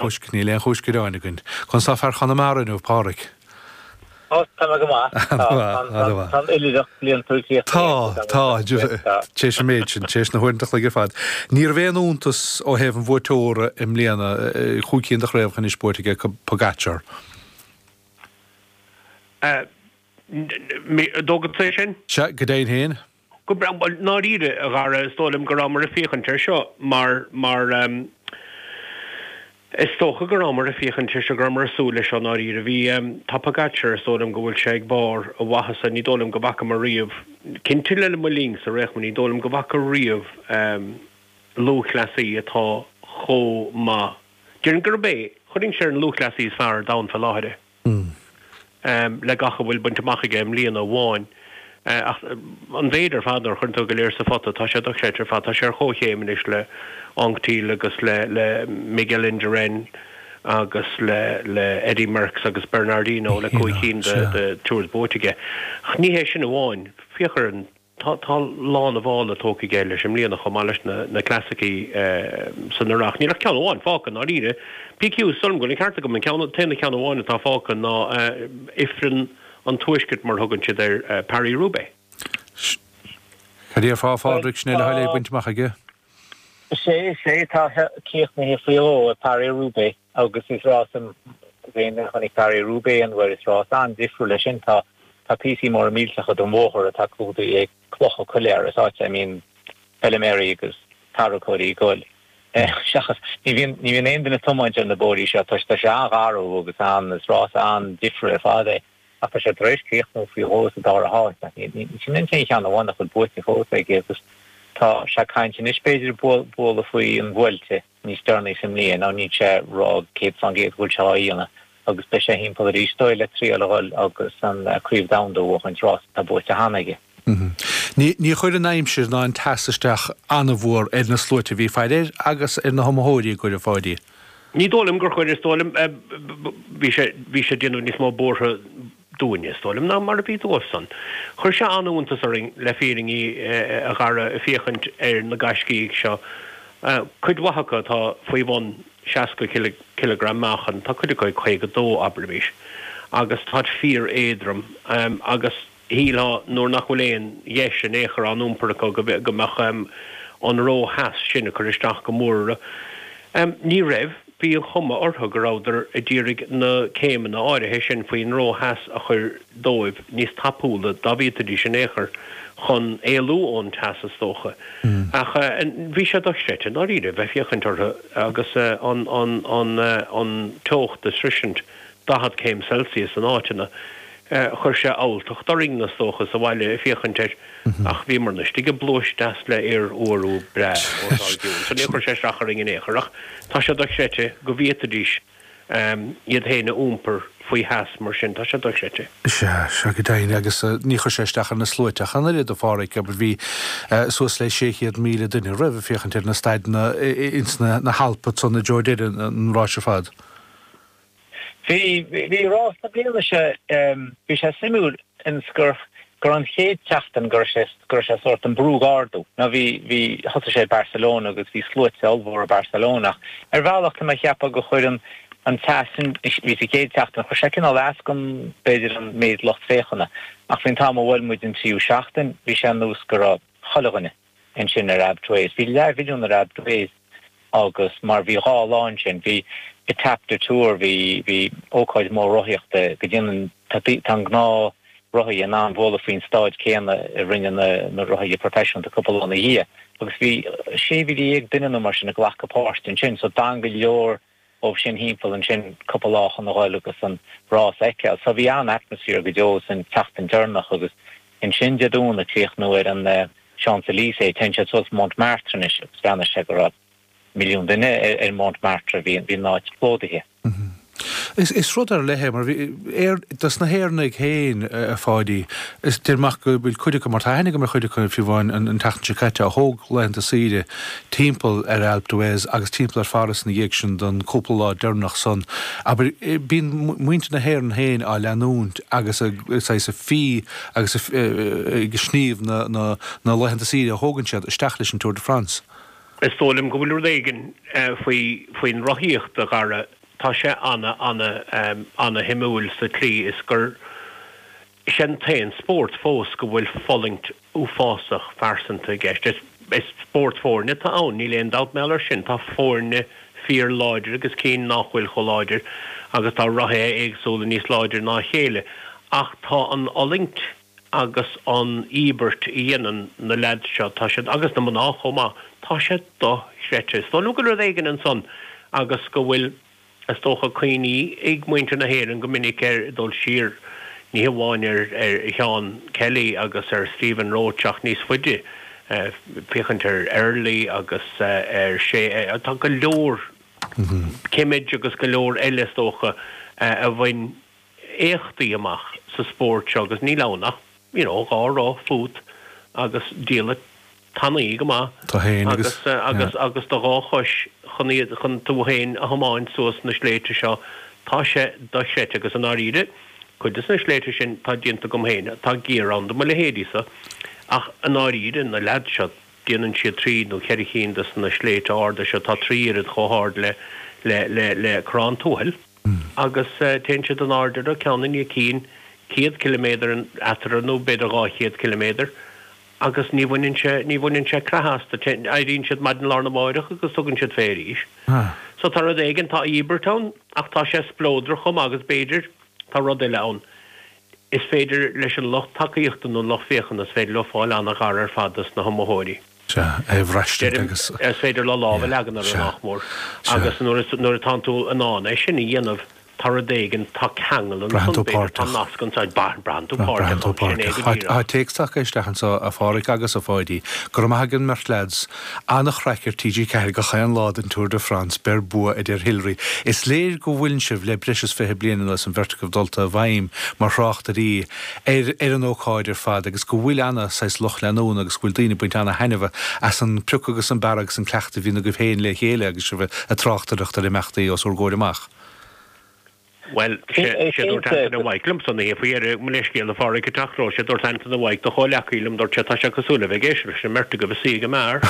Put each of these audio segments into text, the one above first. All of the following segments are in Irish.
Chúis, níl aon chúis gearáin againn. Conas tá fear Chonamara inniu, Páraic? Ó, tá mé go maith. Tá an oilithreacht bliantúil críochnaithe. Tá, tá, tar éis an méid sin, tar éis na huaireanta an chloig ar fad. Ní raibh aon iontas ó thaobh an bhuaiteora i mbliana, chúig cinn de chraobhacha anois buaite aige Pogacar. Dóigh agatsa é sin? Sea, go deimhin féin. Go breá, bhuel, i ndáiríre, a Dhara, is dóigh liom go rabhamar ag féachaint air seo mar, mar, is dócha go rabhamar ag féachaint air seo, go rabhamar ag súil leis seo i ndáiríre. Bhí, tá Pogacar, is dóigh liom go bhfuil sé ag barr a mhaitheasa, ní dóigh liom go bhfacamar riamh, cinnte le mo linnsa ar aon chuma, ní dóigh liom go bhfaca riamh lúthchleasaí atá chomh maith. Déarfainn gurb é, chuirfinnse ar an lúthchleasaí is fearr ar domhan fé láthair é. le gach a bhfuil bainte amach aige i mbliana amháin. Ach an mhéid ar fad, nuair a chuireann tú go léir sa phota, tá sé dochreidte ar fad. Tá sé ar chomhchéim anois le Anquetil agus le le Miguel Indurain agus le le Eddy Merckx agus Bernard Hinault le 5 cinn de de Tours buaite aige. Ach ní hé sin amháin, féach ar an Tá lán a mhála tógtha aige leis i mbliana chomh maith leis na clasaicí san earrach. Níl ach ceann amháin fágtha, i ndáiríre. PQ, is dóigh liom go bhfuil an ceart agam, an ceann, t-aon cheann amháin atá fágtha ná Ifreann an Tuaiscirt mar a thugann siad air, Paris-Roubaix. Cad déarfá, a Phádraig, sin é le huilig bainte amach aige? Is é, is é, tá críochnaithe faoi dhó ag Paris-Roubaix agus is rás d'aon a chonaic Paris-Roubaix aon uair, is rás an-difriúil é sin. Tá tá píosaí móra millteacha den bhóthar atá clúdaithe ag clocha coiléar, is áit a mbíonn feiliméaraí agus tarracóirí ag goil. Seachas, ní bhíonn, ní bhíonn aon duine ag tiomáint ar na bóithrí seo toisc tá sé an-gharbh agus an, is rás an-difriúil ar fad é. Ach tá sé tar éis críochnú faoi dhó sa dara háit, ach ní sin an t-aon cheann amháin nach bhfuil buaite fós aige agus tá sé ag caint anois b'fhéidir bualadh faoi an Vuelta níos deireanaí sa mbliain. Now níl sé ag rá 100% go bhfuil sé á dhéanamh agus beidh sé thimpeall arís dóigh le triail a dhul agus an Craobh Domhanda a bhuachaint, rás atá buaite cheana aige. Ní chuir an aimsir ná an teas isteach an-mhór ar na sluaite a bhí ag faire air agus ar na hiomaitheoirí a gcuireadh Pháidí. Ní dóigh liom gur chuir, is dóigh liom, bhí sé, bhí sé ag déanamh níos mó buartha dúinne, is dóigh liom, ná mar a bhí dóibhsan. Chuir sé an-iontas orainn, le fírinne, a Dhara, féachaint ar na gaiscígh seo, cuid mhaith acu atá faoi bhun 60 cileagram meáchan, tá cuid acu ag 52, abraimis, agus táid fíor-éadrom agus, Shílfeá nuair nach bhfuil aon gheis in aon chor á n-iompar acu go mbeadh an ró-theas sin ag cur isteach go mór orthu. Ní raibh. Bhí an chuma orthu go rabhadar a d'iarraidh na céimeanna áirithe sin faoin ró-theas a chur dóibh níos tapúla dá bhféadfaidís in aon chor chun éalú ón teas is dócha. Ach bhí sé dochreidte i ndáiríre bheith féachaint orthu agus an teocht ag sroisint 40 céim Celsius in áiteanna. Chuir sé alltacht orainn, is dócha, sa bhaile ag féachaint air, ach bhíomarna istigh i bpluais deas le aer úr breá os ár gcionn, so níor chuir sé isteach orainn in aon chor. Ach tá sé dochreidte go bhféadfaidís iad féin a iompar faoi theas mar sin, tá sé dochreidte. Sea, sea, go deimhin, agus ní chuir sé isteach ar na sluaite ach an oiread, a Pháraic, abair, bhí suas le 600,000 duine roimh ag féachaint ar na staideanna ins na hAlpa ansan i dtreo deireadh an ráis ar fad. Bhí, bhí rás na bliana seo, bhí sé suimiúil ins gur, gur an chéad tseachtain go raibh sé, go raibh sé sórt an brú ag ardú. Now bhí, bhí, thosaigh sé i Barcelona agus bhí sluaite ollmhóra i Barcelona ach ar bhealach tá mé ag ceapadh gur chuir an, an teas sin, bhí sa chéad tseachtain, chuir sé cineál as don, b'fhéidir an méid lucht féachana ach faoin t-am a bhuail muid an tríú seachtain bhí sé ar nós go raibh chuile dhuine ansin ar Alpe d'Huez. Bhí leathmhilliún ar Alpe d'Huez agus mar bhí dhá lá ansin, bhí Étape du Tour, bhí, bhí ócáid mhór rothaíochta go ndéanann, tá, tá an gnáth rothaithe in ann bualadh faoin staid céanna a rinne na, na rothaithe proifisiúnta cúpla lá ina dhiaidh agus bhí 16,000 duine nó mar sin ag glacadh páirt ansin so d'fhan go leor dóibh sin thimpeall ansin cúpla lá chun a dhul agus an rás a fheiceáil. So bhí an-atmosphere go deo san tseachtain deireanach agus ansin Dé Domhnaigh críochnú ar an Champs Elysees. Téann siad suas Montmartre anois agus bhreathnaigh sé go raibh milliún duine ar Montmartre, bhí an áit plódaithe. Is rud ar leith é mar bhí, dos na hÉireannaigh féin, a Pháidí, is deirim amach go bhfuil cuid acu, mar tá aithne agam ar chuid acu fiú amháin an tseachtain seo caite, a thóg laethanta saoire timpeall ar Alpe d'Huez agus timpeall ar Pháras ina dhiaidh sin don cúpla lá deireanach san. Abair, bíonn muintir na hÉireann féin á leanúint agus ag saghas ag fí agus ag sníomh na laethanta saoire a thógann siad isteach leis an Tour de France. Is dóigh liom go bhfuil rud éigin faoi, faoin rothaíocht, a Dhara, tá sé ana, ana, ana shuimiúil sa tslí is gur, is é an t-aon spórt fós go bhfuil fulaingt uafásach phearsanta i gceist. Is, is spórt foirne atá ann, níl aon dabht mar gheall air sin. Tá foirne fíor láidir agus cinn nach bhfuil chomh láidir agus tá rothaithe éagsúla níos láidre ná a chéile ach tá an fhulaingt agus an íobairt a dhéanann na leaids seo, tá siad, agus na mná chomh maith, tá sé dochreidte. Is dóigh liom go bhfuil rud éigin ansan agus go bhfuil, is dócha, cuimhní ag muintir na hÉireann go minic ar dul siar, ní hamháin ar Sheán Kelly agus ar Stephen Roche ach níos faide, féachaint ar Early agus ar Shea, tá go leor Kimmage agus go leor eile is dócha a bhain éachtaí amach sa spórt seo agus níl ann ach you know dhá roth fút agus diallait tanaí go maith Tú féin agus agus agus do dhá chois chun iad chun tú féin a thiomáint suas na sléibhte seo tá sé dochreidte agus i ndáiríre cuid des na sléibhte sin tá déanta agam féin tá giar ann do mo leithéidí-sa ach i ndáiríre na leaids seo déanann siad trí nó cheithre chinn des na sléibhte arda seo tá trí oiread chomh hard le le le le Corrán Tuathail. agus téann siad in airde orthu, ceann i ndiaidh cinn, 100 ciliméadar eatarthu nó b'fhéidir 200 ciliméadar, agus ní bhaineann sé, ní bhaineann sé creathadh astu. Éiríonn siad maidin lá arna mháireach agus tugann siad fé arís. So tá rud éigin, tá íobairt ann ach tá sé spleodrach chomh maith agus b'fhéidir, tá rud eile ann, is féidir leis an lucht tacaíochta nó an lucht féachana, is féidir leo fáil an-ghar ar fad dos na hiomaitheoirí. Sea, é a bhraistint agus. Is féidir leo lámh a leagan orthu, nach mór. Agus nuair atánn tú in ann é sin a dhéanamh, tá rud éigin, tá ceangal ansan, b'fhéidir, tá nasc ansan, braitheann tú páirteach ann, sin é go díreach. Tá téacs tagtha isteach anso, a Pháraic agus a Pháidí. Go raibh maith ag an mbeirt leaids. An-chraic ar TG4 gach aon lá den Tour de France, beir bua a deir Hilary. Is léir go bhfuileann sibh le breis is 20 bliain anuas, an bheirt agaibh dulta i bhfeidhm mar thráchtairí ar ar an ócáid ar fad agus go bhfuil ana saghas lucht leanúna agus go bhfuil daoine ag baint ana thaitneamh as an bpriocadh agus an bearradh agus an cleachtadh a bhíonn agaibh féin le chéile agus sibh ag tráchtaireacht ar imeachtaí os bhur gcomhair amach. Bhuel, sé sé dúirt Antaine Mhaidhc liomsa an oíche faoi dheireadh, mo leithscéal a Pháraic ag teacht romhat, sé dúirt Antaine Mhaidhc do chomhleacaí liom, dúirt sé, tá sé cosúil le bheith ag éisteacht leis an mbeirt agaibh ag suí ag an mbeár.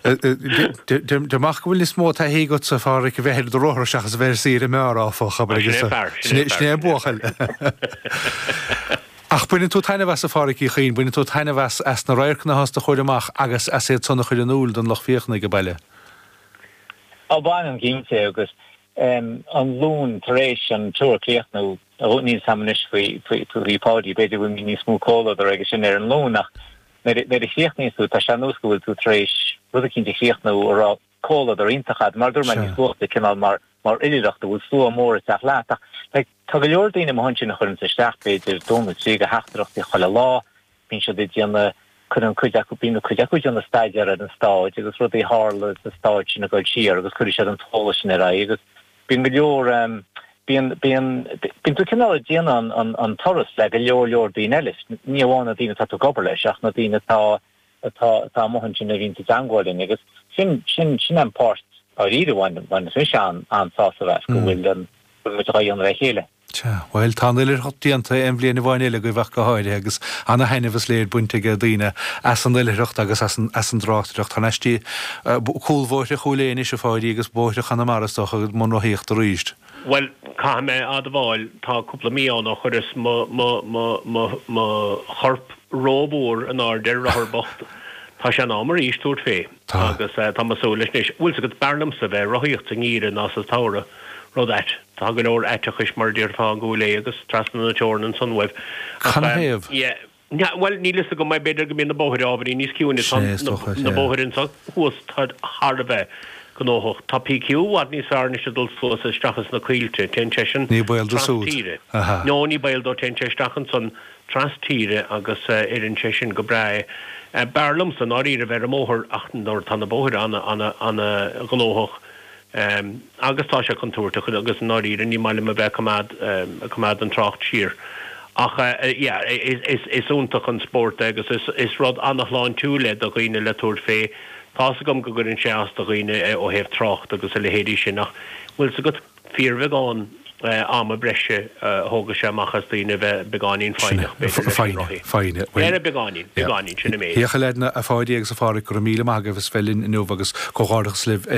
Deir amach go bhfuil níos mó taithí agatsa, a Pháraic, a bheith ar do rothar seachas a bheith ar saoire i mbeár, áfach, abair, agus. Sin é fear, sin é fear. Sin é an buachaill. Ach baineann tú taitneamh as, a Pháraic Uí Chuinn, baineann tú taitneamh as, as na radharcanna atá os do chomhair amach agus as iad san a chur in iúl don lucht féachana ag baile. Á, baineann, cinnte, agus an Luan tar éis an Tour a chríochnú, níl 'fhios a'm anois faoi, faoi Pháidí, b'fhéidir go bhfuil níos mó comhluadar aige sin ar an Luan ach Nuair a chríochnaíonn tú, tá sé ar nós go bhfuil tú tar éis rud eicínt a chríochnú a raibh comhluadar iontach a'd, mar a dúirt mé níos luaithe, cineál mar mar oilithreacht, a bhfuil slua mór ag teacht leat. Ach like, tá go leor daoine amuigh ansin a chuireanns isteach b'fhéidir dó nó trí de theachtaireachtaí chuile lá, bíonn siad ag déanamh, cuireann cuid acu, bíonn cuid acu ag déanamh staidéar ar an stáid agus rudaí a tharla sa stáid sin ag dul siar agus cuirfidh siad an t-eolas sin ar aghaidh agus Bíonn go leor, bíonn, bíonn, bíonn tú cineál ag déanamh an, an turas le go leor leor daoine eile, ní amháin na daoine atá tú ag obair leis ach na daoine atá, atá, atá amuigh ansin a bhíonn i dteangmháil linn agus sin, sin, sin an páirt dáiríre a bhain, bhaineas mise an, an-sásamh as go bhfuil an, go bhfuil muid dhá dhéanamh le chéile. Sea, bhuel, tá an oilithreacht déanta aon bhliain amháin eile agaibh ach go háirithe agus ana-thaitneamh is léir bainte ag daoine as an oilithreacht agus as an as an dtráchtaireacht. Thar n-ais dtí cúlbhóithre Chúil Aodha anois, a Pháidí, agus bóithre Chonamara is dócha, i mbun rothaíochta arís. Bhuel, caithfidh mé a admháil, tá cúpla mí ann ó chuireas mo mo mo mo mo chorp rómhór in airde ar rothar bocht. Tá sé in am arís tabhairt fé. Tá. Agus tá mé ag súil leis anois. Bhfuil 's agat, b'fhearr liomsa bheith ag rothaíocht sa ngeimhreadh ná sa tsamhradh. Rud ait. Tá go leor aiteachais mar a déarfá i gCúil Aodha agus trasna na teorann ansan uaibh. Ach Canathaobh? yeah. Bhuel, níl fhios agam, b'fhéidir go mbíonn na bóithre ábhairín níos ciúine. Sin é is dócha, Na yeah. bóithre anso thuas táid thar a bheith gnóthach. Tá PQ i bhfad níos fearr anois ag dul suas isteach ins na coillte. Téann seisean Ní baol dó tras súd. tíre. Aha. No, ní baol dó, téann sé isteach ansan tras tíre agus oireann sé sin go breá é. B'fhearr liomsa i ndáiríre bheith ar an mbóthar ach nuair atá na bóithre ana, ana, ana ghnóthach agus tá sé contúirteach agus i ndáiríre ní maith liom a bheith ag coimeád, ag coimeád an trácht siar. Ach yeah, is, is iontach an spórt é agus is, is rud ana shláintiúil é do dhaoine le tabhairt fé. Tá's agam go gcuireann sé as do dhaoine ó thaobh trácht agus a leithéidí sin ach bhfuil 's agat, fíorbheagán. Ama breise a thógadh sé amach as daoine a bheith beagáinín foighneach, b'fhéidir, leis an rothaí. Foighne, foighne. Beagáinín, beagáinín, sin an méid. Thiocfadh leat, a Pháidí agus a Pháraic, go raibh míle maith agaibh as bheith linn inniu agus comhghairdeachas libh ar.